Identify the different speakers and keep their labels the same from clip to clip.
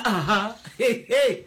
Speaker 1: Aha. Hey, hey,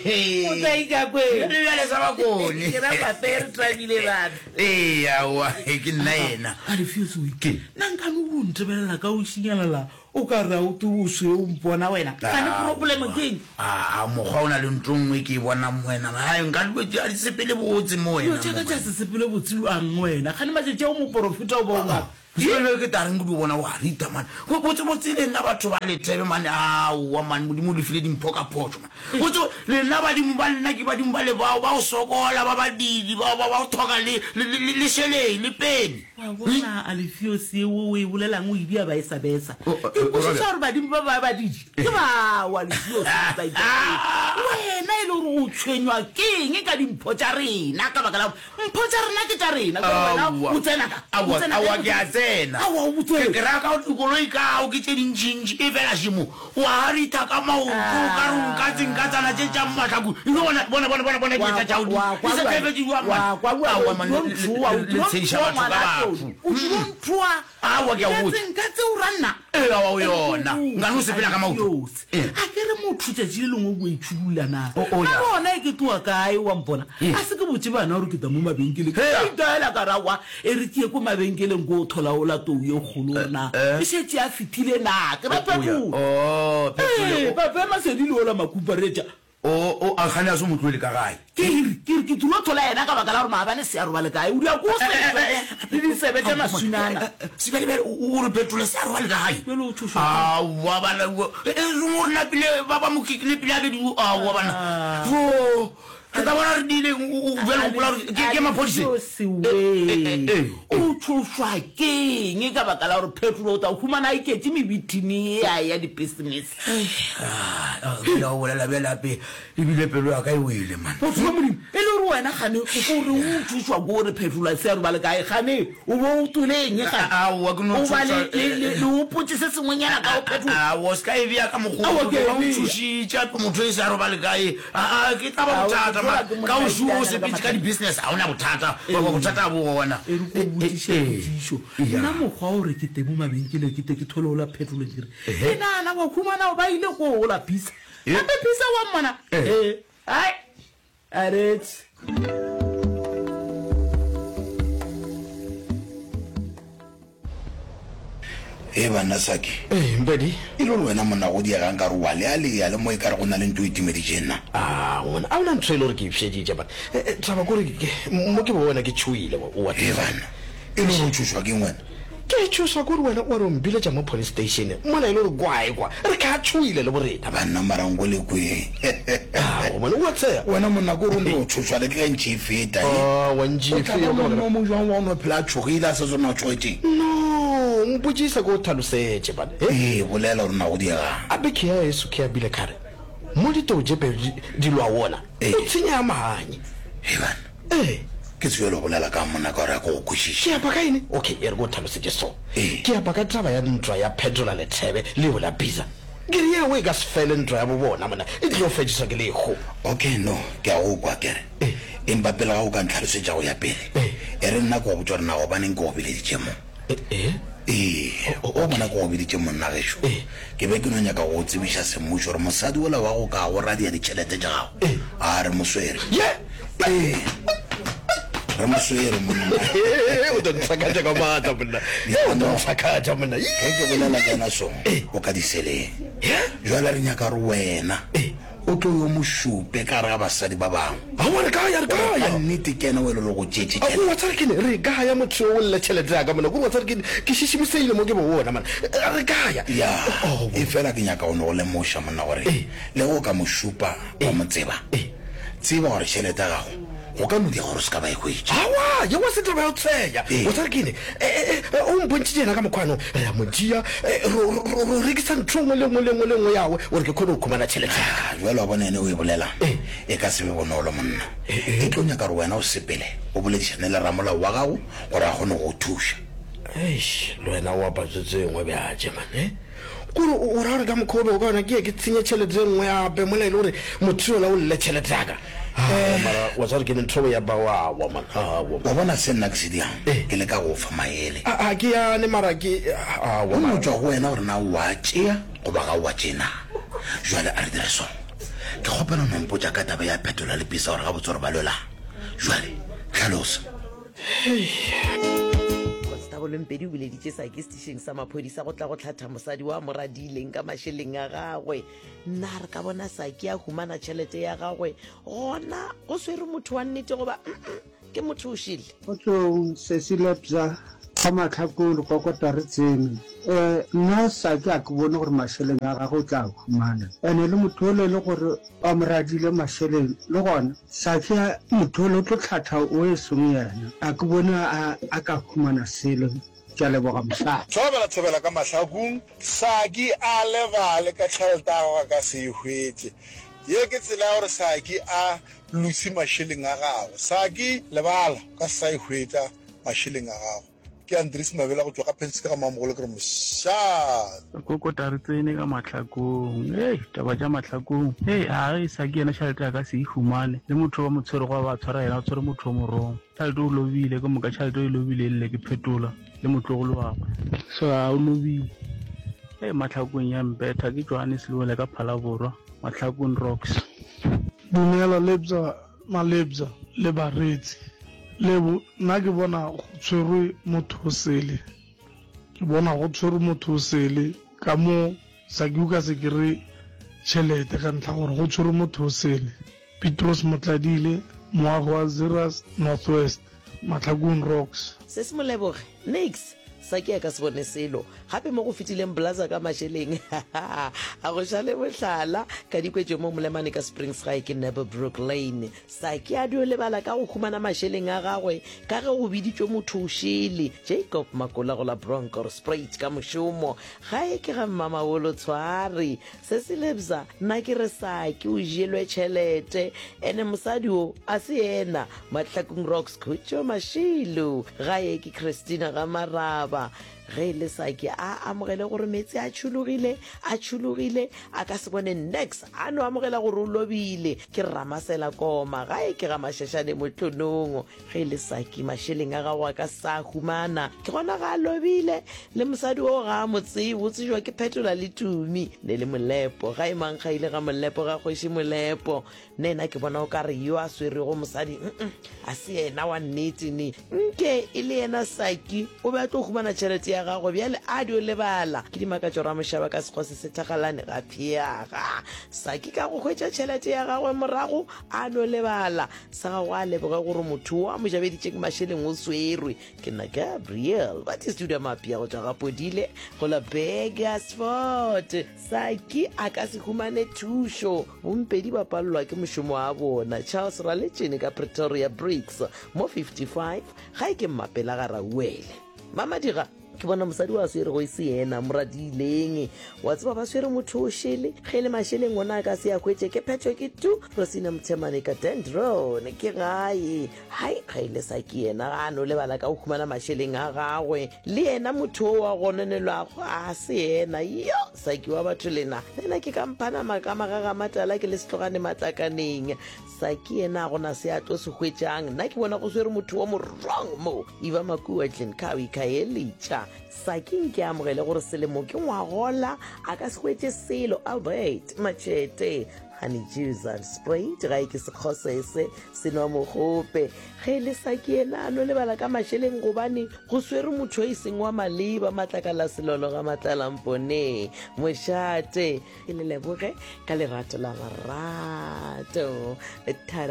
Speaker 1: hey. O tla ika kwe.
Speaker 2: Le bjale sa bakone.
Speaker 1: Ke ra pape re tlamile batho.
Speaker 2: Ee, aowa, ke nna yena.
Speaker 1: A re fio soi.
Speaker 2: Ke.
Speaker 1: Nna nka no o ntebelela ka o šinyalala o ka re a o te o sweu mpona wena. Gane problem ke eng?
Speaker 2: A mokgwa o na le ntho nngwe ke e bonang mo wena. Hai, nka dilo tše a di sepele botse mo wena.
Speaker 1: Dilo tša ka tša se sepele botse bjang wena? Gane matšatši ao moporofeta o ba o ngaka.
Speaker 2: Bjale ke tla reng ke dio bona wa rita man. Go botse botse le nna batho ba lethebe man aowa man modimo o le file dimpho ka phošo man. Botse le nna badimo ba lena ke badimo ba le bao ba go sokola ba badidi ba ba go thoka le le le le šeleng le peni.
Speaker 1: Wa bona Alfios ye o e bolelang o e bea ba e sa besa. Ke kwešiša gore badimo ba ba badidi ke bao Alfios wena e le gore o tshwenywa ke eng ka dimpho tša rena ka baka la gore Mpho tša rena ke tša rena. Jwale wena
Speaker 2: Aowa.
Speaker 1: o tsena ka? O
Speaker 2: Aowa,
Speaker 1: tsena
Speaker 2: aowa,
Speaker 1: kae?
Speaker 2: ke a tsena.
Speaker 1: Aowa, o
Speaker 2: Ke
Speaker 1: tsena.
Speaker 2: ke ra ka dikoloi kao ke tše dintšintši, efela šemo wa ritha ka maoto o ka re o nkatse nkatsana tše tša mahlaku. Eno bona, bona, bona, bona, bona
Speaker 1: Wa
Speaker 2: dieta tša
Speaker 1: kwa,
Speaker 2: gago di,
Speaker 1: wa
Speaker 2: di
Speaker 1: kwa
Speaker 2: sa
Speaker 1: bjale.
Speaker 2: tšhebetše bjang,
Speaker 1: Wa
Speaker 2: man.
Speaker 1: kwa bjale,
Speaker 2: Aowa,
Speaker 1: o
Speaker 2: man,
Speaker 1: tlilo
Speaker 2: le, le,
Speaker 1: ntšhoa,
Speaker 2: le,
Speaker 1: o
Speaker 2: le
Speaker 1: tlilo
Speaker 2: tshegiša
Speaker 1: ntšhoa
Speaker 2: batho ka
Speaker 1: ngwana
Speaker 2: batho.
Speaker 1: Tony. O tlilo ntšhoa.
Speaker 2: Aowa, ke a go
Speaker 1: Nkatse,
Speaker 2: botša.
Speaker 1: nkatse o ra nna.
Speaker 2: Ee, aowa, o yona. Nkane o sepela ka maoto.
Speaker 1: Adios.
Speaker 2: Ee.
Speaker 1: A ke re motho tšatši le lengwe o bo itšhudulla na?
Speaker 2: O, o
Speaker 1: Ka
Speaker 2: ya.
Speaker 1: gona e ke tloga kae wa mpona?
Speaker 2: Ee.
Speaker 1: A se ke botše bana gore ke tla mo mabenkeleng. Ke
Speaker 2: Hea.
Speaker 1: itaela ka ra wa e re ke ye ko mabenkeleng ko thola ola tou ye kgolo gore na
Speaker 2: Eh.
Speaker 1: e šetše a fetile na. Ke ra
Speaker 2: O, o ya.
Speaker 1: petrole.
Speaker 2: Oh, petrole.
Speaker 1: Ee,
Speaker 2: O,
Speaker 1: pape Masedi le ola makuparetša.
Speaker 2: O, o, a kgane a se mo tlohele ka gae?
Speaker 1: Ke re, ke re, ke tlilo thola yena ka baka la gore maabane se a robale kae. O dira ko o setswe le ditsebe tša maswinana.
Speaker 2: Sebjalebjale o, o re Petro se a robale ka gae?
Speaker 1: Bjale o tšhošwa ke eng?
Speaker 2: Aowa bana, o, e, e, o re napile ba ba mo kikile pele a be di, aowa bana. Jo, ke tla bona re diile, o, o, bjale o gopola gore ke, ke maphodisa?
Speaker 1: Alfios wee, o tšhošwa ke eng ka baka la gore Petro o tla humana a iketše mebithini ye ya dipisinese?
Speaker 2: Bjale o bolela bjale ape ebile pelo ya ka e wele man.
Speaker 1: Motho wa Modimo, e le gore wena gane o ko re o tšhošwa ko gore Phetola se a robale kae gane o bo o tswele eng gane?
Speaker 2: Aowa ke no
Speaker 1: O ba
Speaker 2: tšhošwa.
Speaker 1: le le le le opotše se sengwenyana ka go Phetola.
Speaker 2: Aowa o se ka e bea ka mokgwa
Speaker 1: Aowa ke a e
Speaker 2: o
Speaker 1: bea.
Speaker 2: tšhošitše ape motho e se a robale kae. Aa ke tla ba
Speaker 1: Aowa
Speaker 2: bothata
Speaker 1: Phetola
Speaker 2: mara
Speaker 1: ke
Speaker 2: ka
Speaker 1: monna
Speaker 2: o
Speaker 1: a
Speaker 2: šuo o
Speaker 1: itanyana ka
Speaker 2: sepetše ka
Speaker 1: mathata.
Speaker 2: di-business ga o na bothata. Bothata bo gona.
Speaker 1: E re ko botšiše potšišo. Nna mokgwa o re ke teng mo mabenkeleng ke te ke thole ola Phetola ke re Ke nagana wa humana ba ile ko ola Pisa. Gape Pisa wa mmona. Ee. Ai. Aretse.
Speaker 2: Ee banna Saki.
Speaker 3: Ee Mpedi.
Speaker 2: E le gore wena monna go diega nkare wa lealea le mo e kare go na le ntho e timeditšeng na?
Speaker 3: A ngwana a ona ntho e le gore ke ipšeditše but taba kore mo ke bona ke tšhoile wa
Speaker 2: Ee banna e le gore o tšhošwa keng wena?
Speaker 3: Ke tšhošwa ke gore wena wa re o mbiletša mo police station mola e le gore kwa ekwa re ka tšhoile le borena.
Speaker 2: Banna mara nko le kwe.
Speaker 3: Ao mone o a tsheya.
Speaker 2: Wena monna ke gore o no tšhošwa le ke ge ntše e feta e.
Speaker 3: Aowa ntše
Speaker 2: O tla
Speaker 3: e
Speaker 2: ba
Speaker 3: feta
Speaker 2: monna o mo jwang wa o no phela a tšhogile a sa tsebe gore na o tšhogetšeng?
Speaker 3: No, mpotšisa ke o tlhalosetše bana. He?
Speaker 2: Ee, bolela gore na go diegang.
Speaker 3: A be ke ya heso ke ya bile ka re mo ditou tše pedi di lwa wona o tshenya ya mahanye.
Speaker 2: Hei banna.
Speaker 3: Ee.
Speaker 2: Ke tsebe le bolela ka monna ka gore a ke go kwešiše.
Speaker 3: Ke apa ka eng? Okay, e re ke o tlhalosetše so.
Speaker 2: Ee.
Speaker 3: Ke apa ka taba ya ntwa ya Phetola Lethebe le yola Biza. Ke re yeo e ka se fele ntwa ya bo bona monna, e tlilo fetšiswa ke lehu.
Speaker 2: Okay, no, ke a go kwa, ke re.
Speaker 3: Ee.
Speaker 2: Empa pele ga o ka ntlhalosetša go ya pele,
Speaker 3: Ee.
Speaker 2: e re nna ke go botše gore na gobaneng ke go bileditše mo.
Speaker 3: Ee.
Speaker 2: Ee, o bona ke go biditše monna gešo. Ke be ke no nyaka go go tsebiša semmušo gore mosadi wola wa go ka go radia ditšhelete tša gago, a re mo swere. Ee, re mo swere monna.
Speaker 3: O tlo ntsakatša ka maatla monna. O tlo ntsakatša monna.
Speaker 2: Ge ke bolela le yena so, o ka diseleng. Jwale re nyaka gore wena O tlo yo mo šupe ka gare ga basadi ba bangwe.
Speaker 3: Aowa, re kaya, re
Speaker 2: Gore
Speaker 3: kaya.
Speaker 2: ka nnete ke yena o e le go tšeetše tšhelete.
Speaker 3: Aowa, tsare ke ne, re kaya motho yo o lle tšhelete ya ka mona. Kore wa tsare ke ne, ke šišimiseile mo ke bo bona mona. Re kaya.
Speaker 2: Ya,
Speaker 3: Aowa.
Speaker 2: efela ke nyaka go no go lemoša monna gore le ge o ka mo šupa wa mo tseba, tseba gore tšhelete ya gago go ka no diega gore o se ka ba e hwetša.
Speaker 3: Aowa, yeo ga se taba ya go tsheya.
Speaker 2: Ee.
Speaker 3: Wa tsare ke ne, o mpontšhitše yena ka mokgwano, re a mo tšea, ro, ro rekisa ntho nngwe le nngwe le nngwe le nngwe yawe gore ke kgone go khumana tšhelete ya ka.
Speaker 2: Ah, bjale wa bona ene o e bolelang
Speaker 3: Ee.
Speaker 2: e ka se be bonolo monna. E tlo nyaka gore wena o sepele o boledišane le ramolao wa gago gore a kgone go go thuša.
Speaker 3: Eish, le wena o apatše tse nngwe bjatše man, eh? Kore o ra gore ka mokgwa o bego ka yona ke ye ke tshenye tšhelete e nngwe gape mola e le gore motho yola o lle tšhelete ya ka? Aowa mara wa tseba gore ke ne ntho ya ba aowa man, aowa.
Speaker 2: Wa bona se nna ke se dirang? Ke leka go go fa maele.
Speaker 3: A ke yane mara ke aowa
Speaker 2: Go no
Speaker 3: mara.
Speaker 2: tšwa go wena gore na o a tšea goba ga o a tšee na. Jwale a re dire so. Ke kgopela o no mpotša ka taba ya Phetola le Pisa gore gabotse gore ba lwelang. Jwale, hlalosa.
Speaker 4: Constable Mpedi o bileditše Saki setišeng sa maphodisa go tla go hlatha mosadi wa mo radileng ka mašeleng a gagwe. Na re ka bona Saki a humana tšhelete ya gagwe gona go swere motho wa nnete goba mm ke motho o šele?
Speaker 5: Kgotsong sesi Lebza ga Mahlakong re kokota re tsene. Eh nna Saki a ke bone gore mašeleng a gagwe o tla a humana. Ene le motho ole e le gore ba mo radile mašeleng le gona Saki motho ole o tlo hlatha o e seng yena. A ke bone a a ka humana selo. Ke a leboga mosadi.
Speaker 6: Thobela thobela ka mahlakung. Saki a lebale ka tšhelete ya gagwe a ka se e hwetše. Ye ke tsela ya gore Saki a lose mašeleng a gagwe. Saki, lebala, o ka se sa e hwetša mašeleng a gago. Ke Andries Mabela go tšwa ga Penske ga Mamogolo ke re mošate.
Speaker 7: Re kokota re tsene ka mahlakong. Hei, taba tša mahlakong. Hei, a ge Saki yena tšhelete a ka se e humane. Le motho ba mo tshwerego a ba tshwara yena, o tshwere motho o morong. Tšhelete o lobile, ke moka tšhelete o e lobile e lle ke Phetola le motlogolo wa gwe. So a o lobile. Hei, mahlakong ya mpetha ke Johannes Lewele ka Phalaborwa, Mahlakong Rocks.
Speaker 8: Dumela Lebza Malebza le bareetsi. Lebo, nna ke bona go tshwerwe motho o sele. Ke bona go tshwerwe motho o sele ka mo Saki o ka se kry tšhelete ka ntlha gore go tshwerwe motho o sele. Petros Motladile, moagi wa Zeerust North West, Mahlakung Rocks.
Speaker 4: Se se mo leboge. Nix! Saki a ka se bone selo. Gape mo go fetileng Blaza ka mašeleng. A go šale mohlala. Ka dikwetšo mo Molemane ka Springs gae ke Nebelbrook Lane. Saki a dio lebala ka go humana mašeleng a gagwe ka ge go biditšwe motho o šele, Jacob Makola go la Bronkhorstspruit ka mošomo. Gae ke ga Mmamabolo Tshware. Se se lebza, nna ke re Saki o jelwe tšhelete, ene mosadi o a se yena. Mahlakung Rocks Khutšo Mašilu, gae ke Christina ga Maraba. Ge e le Saki a amogele gore meetse a tšhologile, a tšhologile, a ka se bone niks, a no amogela gore o lobile. Ke Ramasela Koma, gae ke ga Mashashane Motlonong. Ge e le Saki, mašeleng a gago a ka sa humana. Ke gona ga a lobile. Le mosadi oo ga a mo tsebe, o tsejwa ke Phetola le Tumi. Ne le Molepo, ga e mankgaile ga Molepo ga kgoši Molepo. Nna ena ke bona o ka re yo a swerego mosadi, mm a se yena wa nnete ne. Nke e le yena Saki, o be a tlo humana tšhelete ya gagwe bjale a dio lebala. Ke dimakatšo Ramošaba ka sekgwa se se thagalane ga pheaga. Saki ka go hwetša tšhelete ya gagwe morago a no lebala. Sa gago a leboge gore motho wo a mo jabeditšeng mašeleng o swerwe. Ke nna Gabriel Batistuda Mapia go tšwa ga Podile go la Burgersfort. Saki a ka se humane thušo. Bompedi ba palelwa ke mošomo wa bona. Charles Raletšene ka Pretoria Bricks mo 55 ga e ke Mmapela ga Rauele. Mamadiga ke bona mosadi wa swerego e se yena moradileng wa tseba ba swere motho o šele ge e le mašeleng ona a ka se a hwetše ke phetho ke tu Rosina Mothemane ka Dendron ke gae Hai, ga ile sa ke yena ga a no lebala ka go humana mašeleng a gagwe. Le yena motho o wa gononelwago a se yena. Yo, Saki wa batho lena. Le nna ke ka mphana maka magagamatala ke le setlogane matlakaneng. Saki yena a gona se a tlo se hwetšang. Nna ke bona go swere motho wa mo wrong mo. Eva Makua Glencoe Khayelitsha. Saki nke a amogele gore selemo ke ngwagola a ka se hwetše selo. Albert Machete. Honey juice and Sprite ga e ke sekgosese se nwa mogope. Ge e le Saki yena a no lebala ka mašeleng gobane go swere motho e seng wa maleba matlakala selolo ga matlalamponeng. Mošate. Ke le leboge ka lerato la marato. Thada.